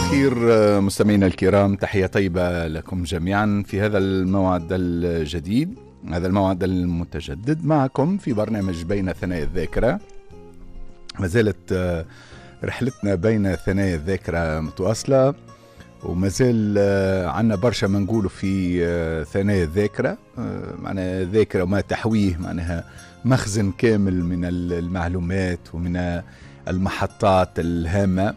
الخير مستمعينا الكرام، تحية طيبة لكم جميعا في هذا الموعد الجديد، هذا الموعد المتجدد معكم في برنامج بين ثنايا الذاكرة. ما زالت رحلتنا بين ثنايا الذاكرة متواصلة، وما زال عندنا برشا ما نقوله في ثنايا الذاكرة. معناها ذاكرة وما تحويه، معناها مخزن كامل من المعلومات ومن المحطات الهامة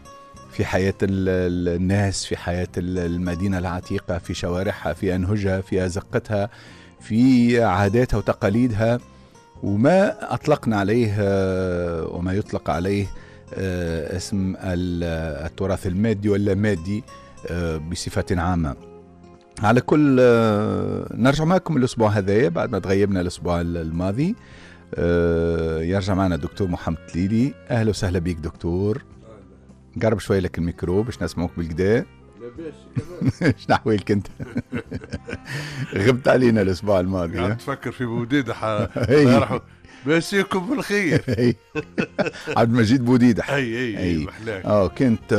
في حياة الناس، في حياة المدينة العتيقة، في شوارعها، في أنهجها، في أزقتها، في عاداتها وتقاليدها، وما أطلقنا عليه وما يطلق عليه اسم التراث المادي واللامادي بصفة عامة. على كل نرجع معكم الأسبوع هذا بعد ما تغيبنا الأسبوع الماضي. يرجع معنا الدكتور محمد تليلي. أهلا وسهلا بك دكتور. قرب شوي لك الميكرو باش نسمعوك بالكدا. لاباس. شنو احوالك انت؟ غبت علينا الاسبوع الماضي. قاعد تفكر في بوديدح. مسيكم بالخير. عبد المجيد بوديدح. اي اي محلاك. كانت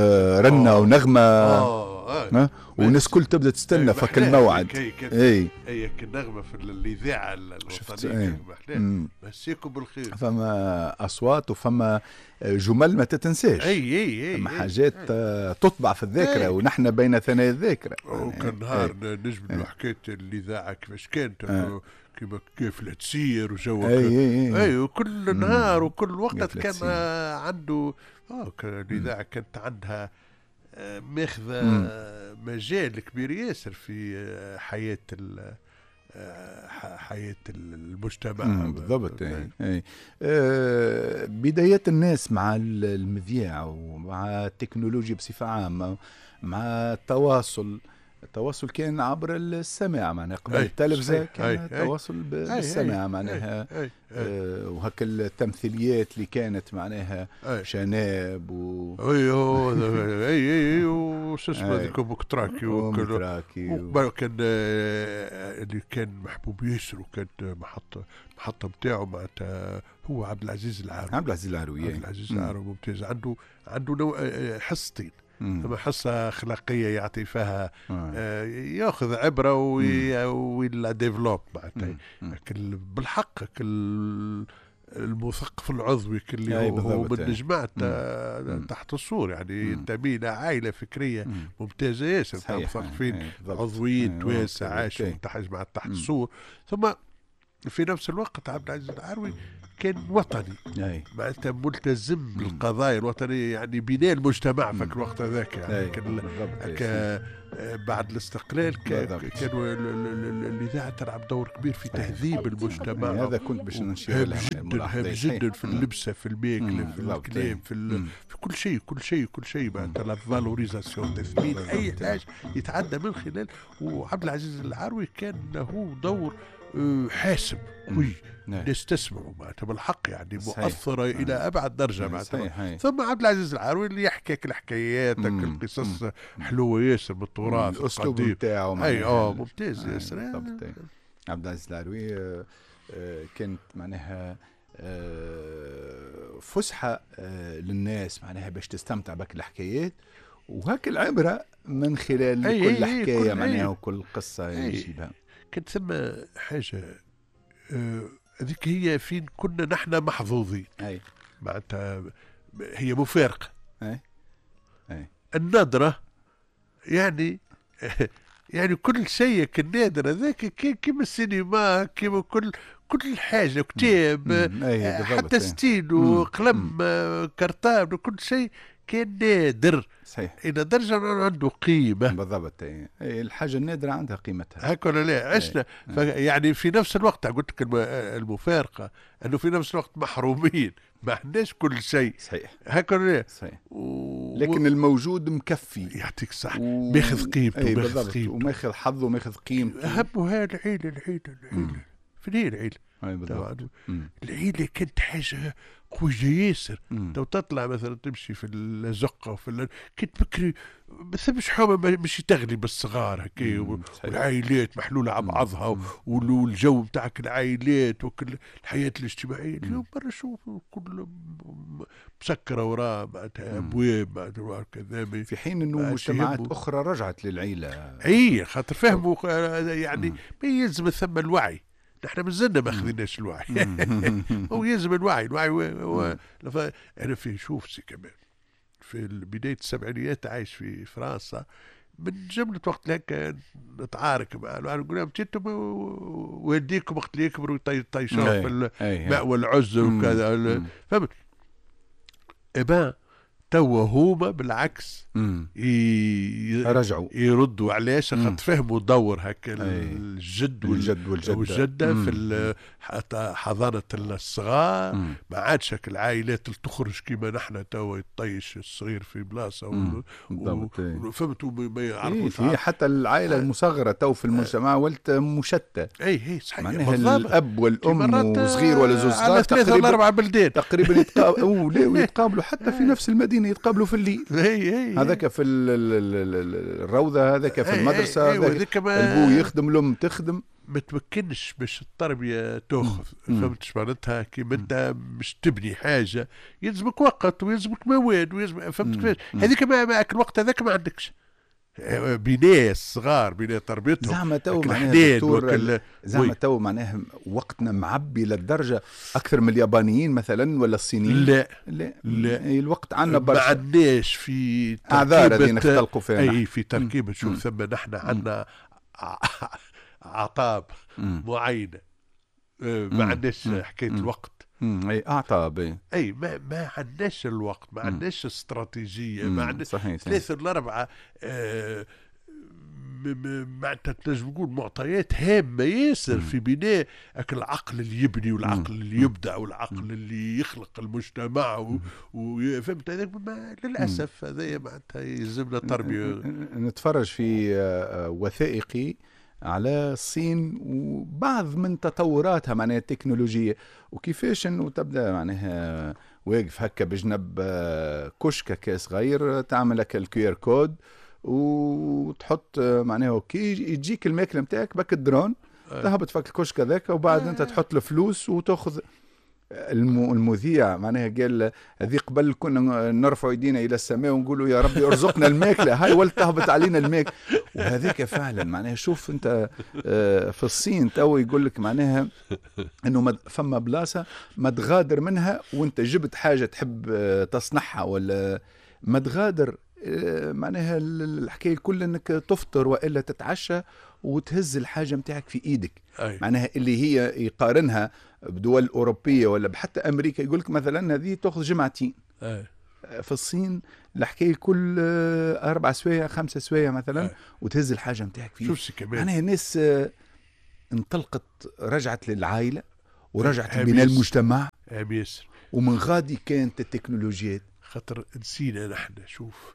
رنه ونغمه والناس كل تبدا تستنى فك الموعد. اي اي النغمة في الاذاعة الوطنية. محلاك، مسيكم بالخير. فما اصوات وفما جمل ما تتنساش. اي اي اي فما حاجات تطبع في الذاكرة. ونحن بين ثنايا الذاكرة. وكان نهار نجبدوا حكاية الاذاعة كيفاش كانت، كيما كيف تسير وجو. اي وكل نهار وكل وقت كان عنده الاذاعة كانت عندها ماخذه مجال كبير ياسر في حياة حياة المجتمع. بالضبط. اي بدايات الناس مع المذياع ومع التكنولوجيا بصفة عامة، مع التواصل. التواصل كان عبر السماع، معناها قبل التلفزة كان التواصل بالسماع معناها. وهك التمثيليات اللي كانت معناها شناب و اي وش اسمه هذيك بوكتراكي وكان اللي كان محبوب ياسر، وكانت المحطة نتاعو معناتها هو عبد العزيز العروي. عبد العزيز العروي. عبد العزيز العروي ممتاز، عنده نوع حصتين. ثم حصة أخلاقية يعطي فيها ياخذ عبرة ولا développe معناتها بالحق المثقف العضوي اللي هو من جماعة تحت السور، يعني ينتمي إلى عائلة فكرية ممتازة ياسر، مثقفين عضويين توانسة عاشوا جماعة تحت السور. ثم في نفس الوقت عبد العزيز العروي كان وطني، معناتها ملتزم بالقضايا الوطنية، يعني بناء المجتمع في الوقت هذاك. يعني كان بعد الاستقلال كانوا الإذاعة تلعب دور كبير في تهذيب المجتمع. هذا كنت باش نشير له جدا جدا، في اللبسة، في الماكلة، في الكلام، في كل شيء كل شيء كل شيء، معناتها la valorisation، تثمين أي حاجة يتعدى من خلال. وعبد العزيز العروي كان له دور حاسم قوي، الناس تسمعوا معناتها بالحق، يعني مؤثرة إلى أبعد درجة معناتها. ثم عبد العزيز العروي اللي يحكي الحكايات، القصص حلوة ياسر بالتراث الأسلوب نتاعو. أي ممتاز ياسر عبد العزيز العروي. كانت معناها فسحة للناس، معناها باش تستمتع بك الحكايات وهاك العبرة من خلال كل حكاية معناها وكل قصة يجيبها. كانت ثم حاجة هذيك هي فين كنا نحن محظوظين. معناتها هي مفارقة. النادرة يعني كل شيء النادر هذاك كيما السينما، كيما كل حاجة، كتاب، حتى ستيلو، قلم، cartable، كل شيء كان نادر. صحيح. إلى درجة عنده قيمة. بالضبط. الحاجة النادرة عندها قيمتها. هكا ولا لا؟ عشنا يعني في نفس الوقت قلت لك المفارقة أنه في نفس الوقت محرومين، ما عندناش كل شيء. صحيح. هكا ولا لا؟ صحيح. لكن الموجود مكفي. يعطيك صح. ماخذ قيمته، ماخذ قيمته، وماخذ حظه وماخذ قيمته. أهمها العيلة العيلة العيلة. فين هي العيلة؟ بالضبط. العيلة كانت حاجة قوية ياسر. تو تطلع مثلا تمشي في الزقة وفي كي بكري ما ثمش حومة مش تغلي بالصغار هكا، والعائلات محلولة على بعضها، والجو نتاعك العائلات وكل الحياة الاجتماعية. اليوم برا شوف كل مسكرة وراء معناتها أبواب معناتها كذا، في حين أنه مجتمعات أخرى رجعت للعيلة. أي خاطر فهموا يعني ما يلزم ثم الوعي. نحن مازلنا ما خذيناش الوعي. هو يلزم الوعي. الوعي أنا في شوف سي كمان في بداية السبعينيات عايش في فرنسا، من جملة وقت لك نتعارك مع نقول لهم انتم والديكم وقت اللي يكبروا يطيشوا في المأوى العزل وكذا، فهمت؟ إبا توا هما بالعكس رجعوا يردوا. علاش؟ خاطر فهموا دور هكا الجد والجدة في حضانة الصغار. ما عادش هكا العائلات اللي تخرج كيما نحن توا يطيش الصغير في بلاصة فهمتوا ما يعرفوش. إيه حتى العائلة المصغرة تو في المجتمع ولت مشتة. اي صحيح، معناها الاب والام وصغير ولا زوج صغار تقريبا ولا 4 بلدان تقريبا يتقابلوا حتى في نفس المدينة، يتقابلوا في الليل. هذاك في الروضة، هذاك في المدرسة، هذاك البو يخدم الأم تخدم. ما تمكنش باش التربية تأخذ، فهمت معناتها؟ كيما أنت مش تبني حاجة يلزمك وقت ويلزمك مواد ويلزم، فهمت كيفاش؟ هذيك الوقت هذاك ما عندكش. بناء الصغار، بناء تربيتهم. زعما تو معناها دكتور، زعما تو معناها وقتنا معبي للدرجة اكثر من اليابانيين مثلا ولا الصينيين؟ لا لا لا، الوقت عندنا برشا، ما عندناش في اعذار هذه نختلقوا فيها. اي في تركيبه. شوف ثم نحن عندنا اعطاب معينة، ما عندناش حكاية الوقت. اي اعطاب، اي ما عندناش الوقت، ما عندناش استراتيجية، ما عندناش 3 ولا 4 معناتها تنجم تقول معطيات هامة ياسر في بناء العقل اللي يبني والعقل اللي يبدع والعقل اللي يخلق المجتمع وفهمت هذاك. للاسف هذا معناتها يلزمنا تربيه. نتفرج في وثائقي على الصين وبعض من تطوراتها معناها التكنولوجية، وكيفاش انه تبدا معناها واقف هكا بجنب كشكة صغير، تعمل لك ال QR code وتحط معناها OK، يجيك الماكلة نتاعك بك الدرون، تهبط فك الكشك هذاك، وبعد انت تحط الفلوس وتاخذ. المذيع معناها قال هذه قبل كنا نرفع يدينا الى السماء ونقولوا يا ربي ارزقنا الماكلة، هاي ولت تهبط علينا الماكلة. وهذاك فعلا معناها شوف انت في الصين تو يقول لك معناها انه فما بلاصة ما تغادر منها وانت جبت حاجة تحب تصنعها ولا ما تغادر، معناها الحكاية الكل انك تفطر والا تتعشى وتهز الحاجة متاعك في ايدك. أي. معناها اللي هي يقارنها بدول اوروبية ولا بحتى امريكا، يقول لك مثلا هذه تاخذ جمعتين. أي. في الصين الحكاية الكل 4 سوايع 5 سوايع مثلا. أي. وتهز الحاجة متاعك في ايدك. معناها الناس انطلقت، رجعت للعائلة ورجعت لبناء المجتمع. ومن غادي كانت التكنولوجيات. خاطر نسينا نحن شوف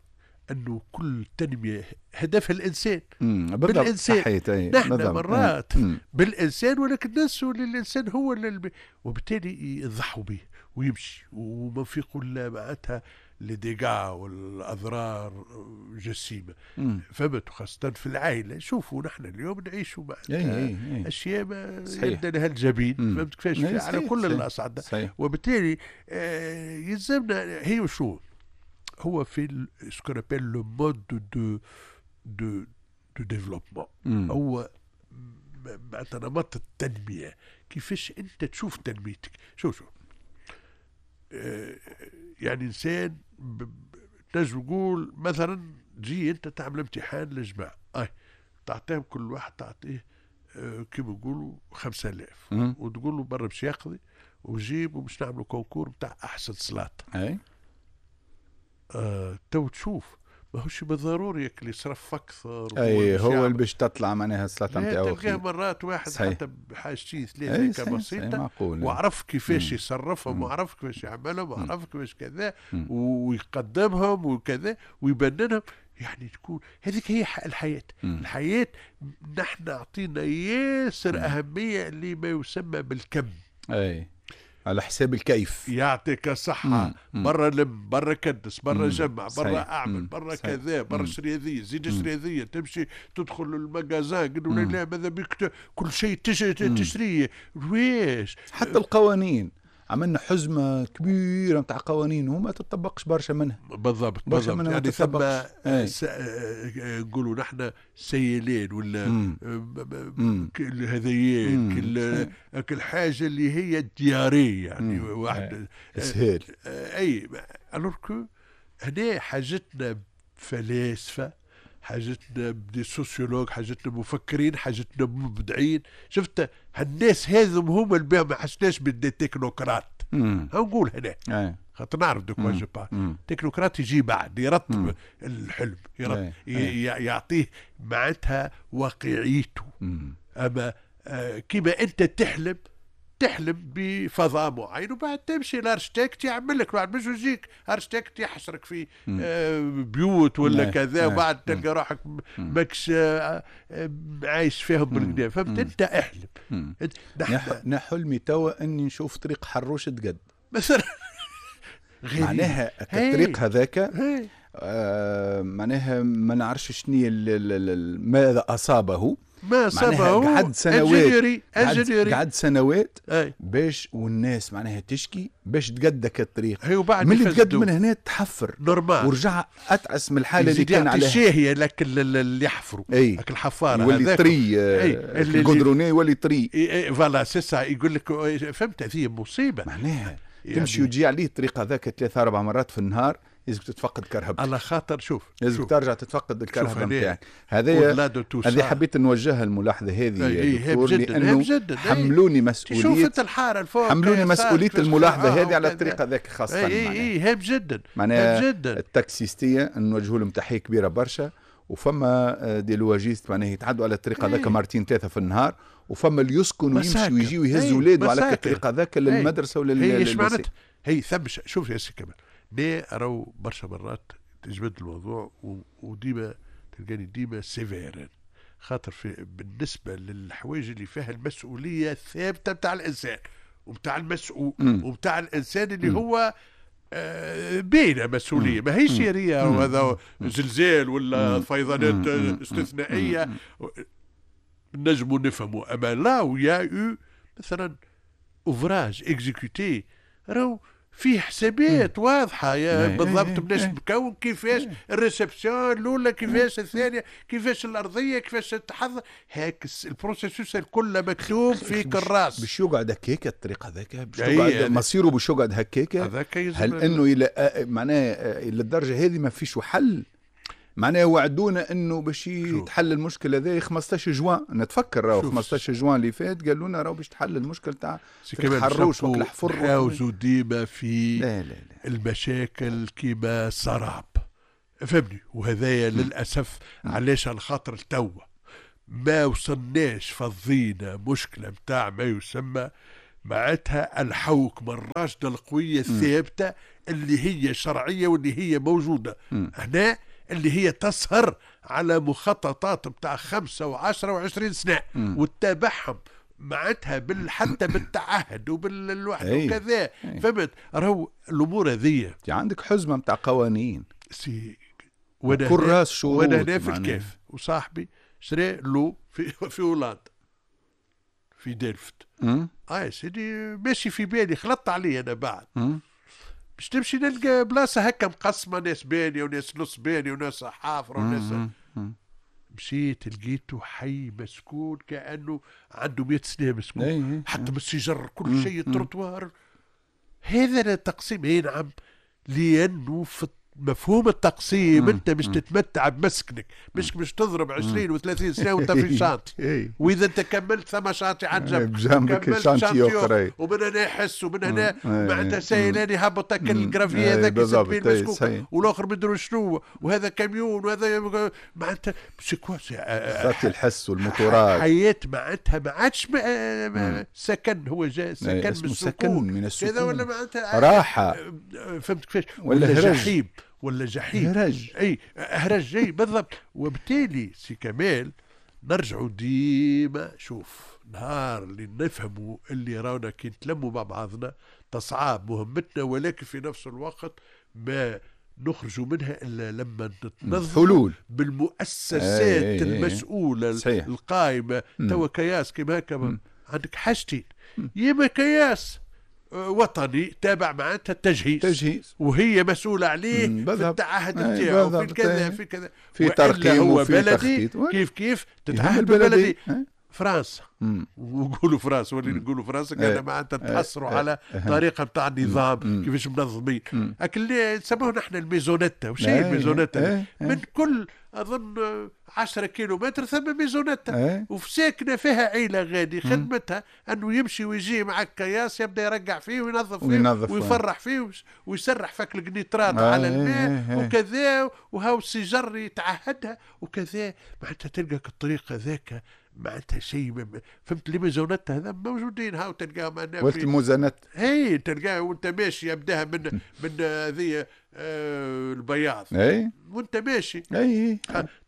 أنه كل تنمية هدفها الإنسان. بالإنسان. نحن مرات بالإنسان، ولكن ننسوا للإنسان هو وبالتالي يضحوا به ويمشي وما في لا معناتها les dégâts والأضرار جسيمة. فهمت؟ خاصة في العائلة. شوفوا نحن اليوم نعيشوا معناتها أشياء ما يبدأ لها الجبين. فهمت كيفاش؟ على كل الأصعدة. وبالتالي يلزمنا هي شو هو في ce qu'on appelle le mode de développement. هو معناتها نمط التنمية، كيفاش أنت تشوف تنميتك. شوف يعني إنسان تنجم تقول مثلا تجي أنت تعمل امتحان للجماعة، تعطيهم كل واحد تعطيه كيما نقولوا 5000 وتقول له برا باش يقضي وجيب وباش نعملوا concours بتاع أحسن سلاطة. تو تشوف ماهوش بالضروري اللي يصرف اكثر. اي هو اللي باش تطلع معناها السلطة نتاعو. تلقاه مرات واحد صحيح. حتى بحاجتين 3 بسيطة وعرف كيفاش يصرفهم وعرف كيفاش يعملهم وعرف كيفاش كذا ويقدمهم وكذا ويبننهم. يعني تكون هذيك هي الحياة. الحياة نحن اعطينا ياسر اهمية لما يسمى بالكم. اي على حساب الكيف. يعطيك الصحة. برا لم، برا كدس، برا جمع، برا أعمل، برا كذا، برا شري هذية، زيد شري هذية، تمشي تدخل ال magasin قالوا لا ماذا بك كل شيء تشريه. ويش حتى القوانين عملنا حزمة كبيرة نتاع قوانين وما تطبقش برشا منها. بالضبط بالضبط. يعني ثم نقولوا نحن سيلين ولا هذيين كل حاجة اللي هي diarrhée يعني واحد اسهال. اي alors que هنا حاجتنا فلاسفة، حاجتنا ب des sociologues، حاجتنا مفكرين، حاجتنا مبدعين. شفت هالناس هذم هما اللي ما حسناش ب des technocrates. نقول هنا خاطر نعرف de quoi je parle. technocrate يجي بعد يرتب الحلم، يرتب يعطيه معناتها واقعيته. اما كيما انت تحلم بفضاء معين وبعد تمشي ال architecte يعمل لك، بعد مش يجيك architecte يحشرك في بيوت ولا كذا، وبعد تلقى روحك ماكش عايش فيهم بالكدا. فهمت؟ انت احلم. انا حلمي توا اني نشوف طريق حروش تقد مثلا. معناها الطريق هذاك معناها ما نعرفش شنو ماذا اصابه، ما صابه. قعد سنوات، قعد سنوات باش والناس معناها تشكي باش تقدك الطريق. من اللي تقد من هنا تحفر normal ورجع اتعس من الحالة اللي كان عليها. الشاهيه لك اللي يحفروا لك الحفاره يولي طري، ال goudronné يولي طري. voilà c'est ça. يقول لك فهمت هذه مصيبة معناها يعني تمشي وتجي عليه الطريق هذاك 3-4 مرات في النهار، لازم تتفقد كرهبتك. على خاطر شوف لازم ترجع تتفقد الكرهبه نتاعك. هذه حبيت نوجهها الملاحظة هذه يا دكتور، لانه حملوني مسؤولية. شوف انت الحارة الفوق، حملوني مسؤولية الملاحظة هذه على الطريق هذاك خاصة. اي هام جدا. معناها التاكسيستيه نوجه لهم تحية كبيرة برشا، وفما des louagistes معناها يتعدوا على الطريق هذاك مرتين 3 في النهار، وفما اللي يسكن ويمشي ويجي ويهز ولاده على الطريق هذاك للمدرسة ولا لل. هي ثم شوف يا سي كمال، ليه راهو برشا مرات تجبد الموضوع وديما تلقاني ديما sévère، خاطر في بالنسبة للحوايج اللي فيها المسؤولية الثابتة بتاع الانسان وبتاع المسؤول وبتاع الانسان اللي هو بين مسؤولية، ما هيش هي وهذا زلزال ولا فيضانات استثنائية نجموا نفهموا. اما là où il y a eu مثلا ouvrage exécuté راهو فيه حسابات واضحة يا بالضبط، بناش مكون كيفاش ال réception الاولى، كيفاش الثانية، كيفاش الارضية، كيفاش تحضر، هاك ال processus الكل مكتوب في كراس. باش يقعد هكاك الطريق هذاك، باش يقعد مصيره باش يقعد هكاك. هل انه الى معناه الى الدرجة هذه ما فيش حل؟ معناه وعدونا انه باش يتحل المشكل هذا 15 جوان، نتفكر راهو 15 جوان اللي فات قالوا لنا راهو باش تحل المشكل تاع الحروش والحفر. نحاوزوا ديما في لا لا لا. المشاكل كيما سراب، فهمني؟ وهذايا للاسف علاش على خاطر التوا ما وصلناش فضينا مشكلة نتاع ما يسمى معناتها الحوكمة الراشدة القوية الثابتة اللي هي شرعية واللي هي موجودة هنا، اللي هي تسهر على مخططات بتاع 5 و10 و20 سنة وتتابعهم معناتها حتى بالتعهد وبالوحدة وكذا. فهمت؟ راهو الأمور هذية عندك حزمة بتاع قوانين سي كراس شروط. وانا هنا في الكاف وصاحبي شرى له في هولندا في ديلفت. سيدي ماشي في بالي، خلطت عليه انا بعد باش تمشي نلقى بلاصة هكا مقسمة، ناس بانيه وناس نص بانيه وناس حافره وناس. مشيت لقيته حي مسكون كانه عنده 100 سنة مسكون، حتى بالسجر كل شيء، التروتوار. هذا التقسيم. اي نعم، لانه في مفهوم التقسيم انت مش تتمتع بمسكنك، مش تضرب 20 و30 سنة وانت في chantier، واذا انت كملت ثم chantier عند جنبك، كملت chantier اخرى، ومن هنا يحس ومن هنا معناتها سايلان يهبط ال gravier هذاك يسد المسكوك، والاخر مدري شنو، وهذا كاميون وهذا معناتها c'est quoi الحس والموتورات. حياة معناتها ما عادش سكن، هو جاء سكن من السكون كذا، ولا معناتها راحة. فهمت كيفاش؟ ولا جحيم، ولا جحيم، هرج. اي هرج، اي بالضبط. وبالتالي سي كمال نرجعوا ديما. شوف نهار اللي نفهموا اللي رانا كي نتلموا مع بعضنا تصعاب مهمتنا، ولكن في نفس الوقت ما نخرجوا منها الا لما نتنظم بالمؤسسات المسؤولة القائمة. توا كياس كيما هكا عندك حاجتين، يا كياس وطني تابع معناتها التجهيز وهي مسؤولة عليه في التعهد نتاعو في كذا في كذا في ترقيم وفي بلدي كيف كيف تتعهد بالبلدي. فرنسا ونقولوا فرنسا ولي نقولوا فرنسا كان معناتها تحصروا على طريقه نتاع النظام كيفاش منظمين اللي نسموه نحن ال maisonnette. وش هي ال maisonnette؟ من كل اظن 10 كيلومتر ثم maisonnette وساكنه فيها عيله غادي خدمتها انه يمشي ويجي معك كياس يبدا يرجع فيه وينظف فيه ويفرح فيه ويسرح فك القنيطرات على الماء وكذا، وهاو السجر يتعهدها وكذا. معناتها تلقى الطريقة ذاك معناتها شيء فهمت. les maisonnettes هذا موجودين هاو تلقاهم ولت الموزانات هي تلقاها وانت ماشي يبداها من هذه البياض وانت ماشي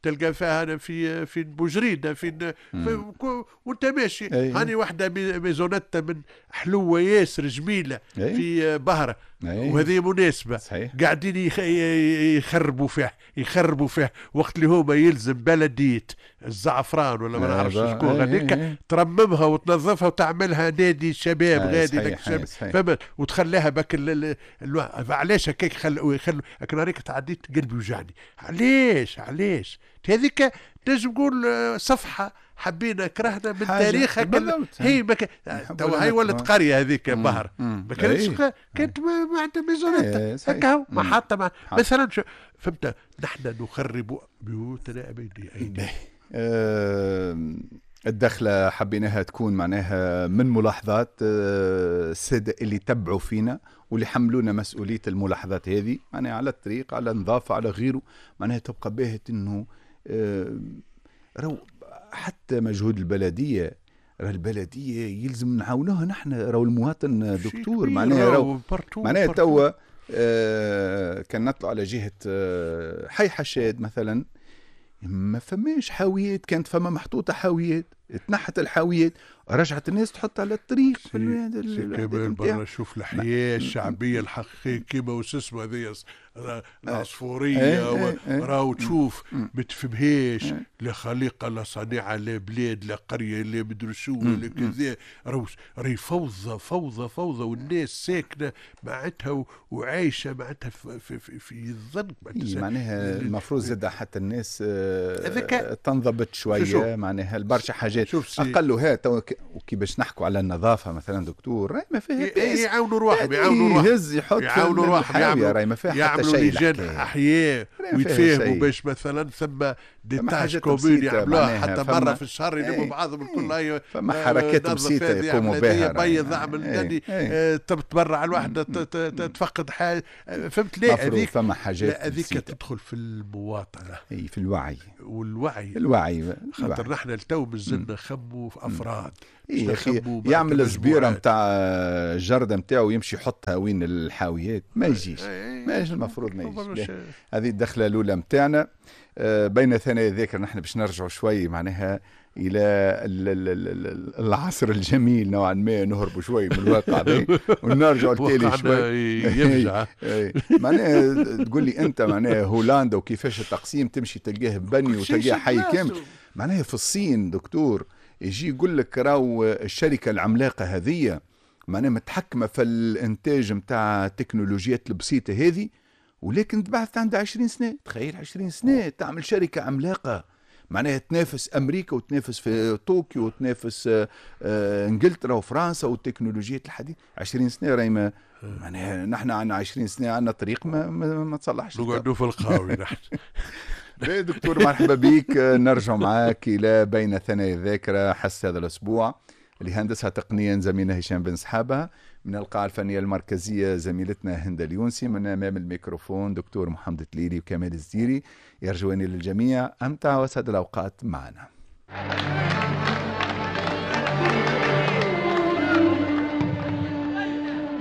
تلقى فيها انا في بوجريده في وانت ماشي هاني واحدة maisonnette من حلوة ياسر جميلة في بهره وهذه مناسبة صحيح. قاعدين يخربوا فيها يخربوا فيها وقت اللي هما يلزم بلديه الزعفران ولا ما نعرفش شكون غاديك ترممها وتنظفها وتعملها نادي شباب غادي فهمت وتخليها بك علاش هكاك يخلوا لكن هذيك تعديت قلبي وجعني. علاش علاش هذيك تنجم نقول صفحة حبينا كرهنا من تاريخها هي توا هي ولت قرية هذيك بهر ما كانتش كانت ما عندها maisonnette هكا ما حاطه مثلا فهمت. نحن نخرب بيوتنا بأيدينا. الدخلة حبيناها تكون معناها من ملاحظات السادة اللي تبعوا فينا واللي حملونا مسؤولية الملاحظات هذه، معناها على الطريق على النظافة على غيره، معناها تبقى باهت انه رو حتى مجهود البلدية، راه البلدية يلزم نعاونوها نحن، راهو المواطن دكتور معناها راهو معناها توا كان نطلع على جهة حي حشاد مثلا ما فماش حاويات، كانت فما محطوطة حاويات، تنحت الحاويات، رجعت الناس تحط على الطريق. في برا شوف الحياة الشعبية الحقيقية كيما وش اسمه هذه العصفورية راهو تشوف ما تفهمهاش، لا خليقة لا صنيعة لا بلاد لا قرية لا مدري شو لا كذا، راهي فوضى فوضى فوضى، والناس ساكنة معناتها وعايشة معناتها في, في, في الظن. معناها المفروض زاد حتى الناس تنضبط شوية، معناها البرشا حاجات أقلها تو. وكي باش نحكوا على النظافة مثلا دكتور راهي ما فيها باس، يعاونوا روحهم يعاونوا روحهم يهز يحط يعاونوا روحهم راهي ما فيها حتى شيء، لجان احياء ويتفاهموا باش مثلا ثم des tâches communes يعملوها حتى مرة في الشهر يلموا بعضهم الكل، فما حركات بسيطة يقوموا بها، بيض اعمل تتبرع الواحدة تفقد حاجة، فهمت ليه؟ هذيك فما حاجات هذيك تدخل في المواطنة، اي في الوعي والوعي الوعي، خاطر نحن التو مازلنا نخموا في افراد. إيه أخي يعمل الزبيره نتاع الجرده نتاعو يمشي يحطها وين الحاويات، ما يجيش ما يجيش المفروض ما يجيش. هذه الدخلة الاولى نتاعنا بين ثنايا الذاكرة. نحن باش نرجعوا شوي معناها الى العصر الجميل نوعا ما، نهربوا شوي من الواقع ونرجعوا لتالي شوي. معناها تقول لي انت معناها هولندا وكيفاش التقسيم تمشي تلقاه بني وتلقاه حي كامل. معناها في الصين دكتور يجي يقول لك راهو الشركة العملاقة هذه معناها متحكمه في الانتاج نتاع التكنولوجيات البسيطة هذه، ولكن تبعث عندها 20 سنة. تخيل 20 سنة تعمل شركة عملاقة معناها تنافس امريكا وتنافس في طوكيو وتنافس انجلترا وفرنسا والتكنولوجيات الحديثة. 20 سنة راهي معناها نحن عندنا 20 سنة عندنا طريق ما تصلحش، نقعدوا في القهاوي نحن. دكتور مرحبا بك، نرجع معاك الى بين ثنايا الذاكرة حس هذا الاسبوع اللي هندسها تقنيا زميلنا هشام بن سحابه، من القاعة الفنية المركزية زميلتنا هند اليونسي، من امام الميكروفون دكتور محمد تليلي وكمال الزيري. يرجواني للجميع امتع واسعد الاوقات معنا.